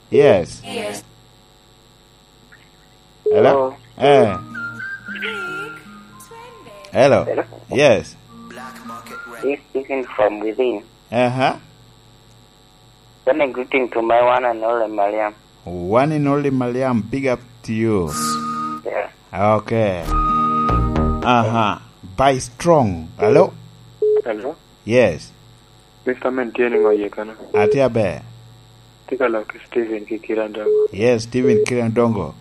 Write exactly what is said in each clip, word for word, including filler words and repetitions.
Yes. Hello? Hello? Eh. Hello? Hello? Yes. This speaking from within. Uh-huh. Send a greeting to my one and only Mariam. One and only Mariam, big up to you. Yeah. Okay. Uh-huh. By strong. Hello? Hello? Yes. Mister Men, tye niŋo iye kano? Atye aber. Tye ka lok ki Steven ki Kiran Dongo. Yes, Steven Kiran Dongo.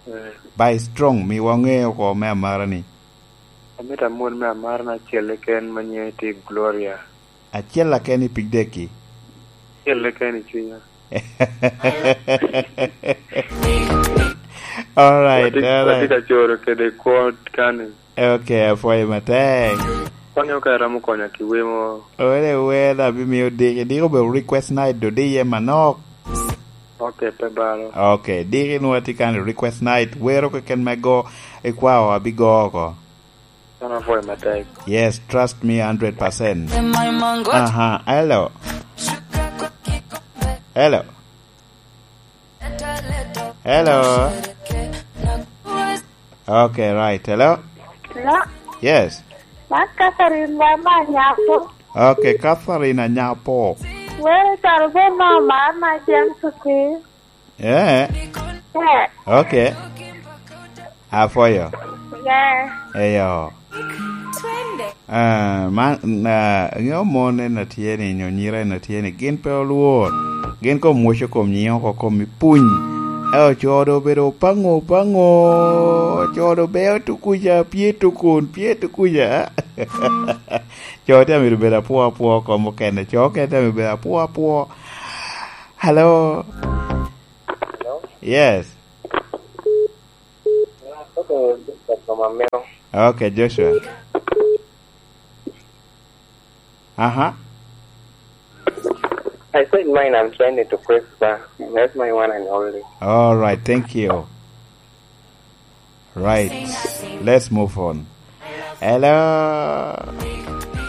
Eh. By strong, mi waŋe oko me amara ni. Amito amwol me amara na acel keken ma nyinge tye Gloria. Acel keken i pig deki. Acel keken i cwinya. All right, watye, all right. Watye ka coro kede kwo kani. Okay, apwoyo matek. Konyo ka iromo konya ki wer mo. Ore wer abimiyo diki. Diki obedo request night, do di iye manok. Okay, pe balo. Okay, diki nwa tye kan request night. Wero keken me go, ikwao abigo oko. An apwoyo matek. Yes, trust me hundred percent. Aha, hello. Hello. Hello. Okay, right. Hello? Hello? Yes. Man Catherine Baba Anyapo. Okay, Catherine Anyapo. Where is Arvin Mama, my James Okwir? Eh. Yeah. Okay. Apwoyo. Yeah. Eyo. Ah, man, ah, ŋeo mon en a tye ni, nyo nyira en a tye ni, gin pe olwor. Gin kom woco kom nyiŋ oko kom i puny. Eh, ocodo obedo paŋo, paŋo. Ocodo beo tukuca, pye tukun, pye tukuca. Co tye amito bedo apwo, apwo kom okene. Co okene tye amito bedo apwo, apwo. Hello? Hello? Yes. Yeah, okay, Joshua from Amero. Okay, Joshua. Uh-huh. I said mine, I'm sending to Christopher. That's my one and only. All right, thank you. Right. Let's move on. Hello?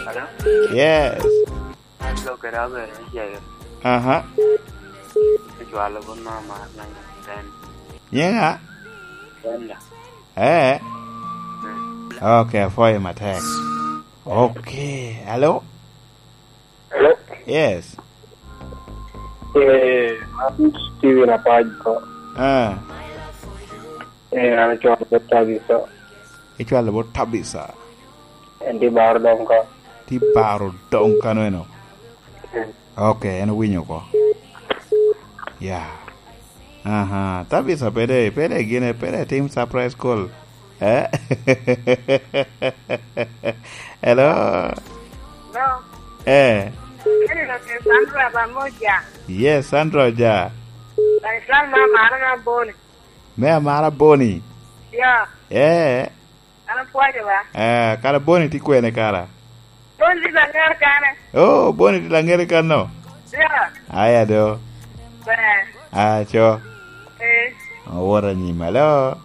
Hello? Yes. An lo kede abedo me cego. Aha. Icwalo bot mama na Uganda. Nyiŋa? Uganda. Eh. Mm. Okay, apwoyo matek. Okay. Hello? Hello? Yes. Eh, an Steven Apac ko. Ah. Eh, an acwalo bot Tabitha. Icwalo bot Tabitha. En tye baro doŋ ka. Tye baro doŋ kano eno. Mm. Okay, en owinyo oko. Ya. Aha, Tabitha pede, pede gine, pede tim surprise call. Eh? Hello? Hello? Eh. Eni lo ke Sandra Ramoja. Yes, Sandra Oja. Dar es Salaam, mama, ana ka Boni. Me amara Boni. Ya. Eh. An apwoyo wa. Eh, kara Boni tye kwene kara? Boni tye Laŋere kene. Oh, Boni tye Laŋere kano? Ya. Aya do. Ber. Ah, co. Eh. Owot anyim, alo.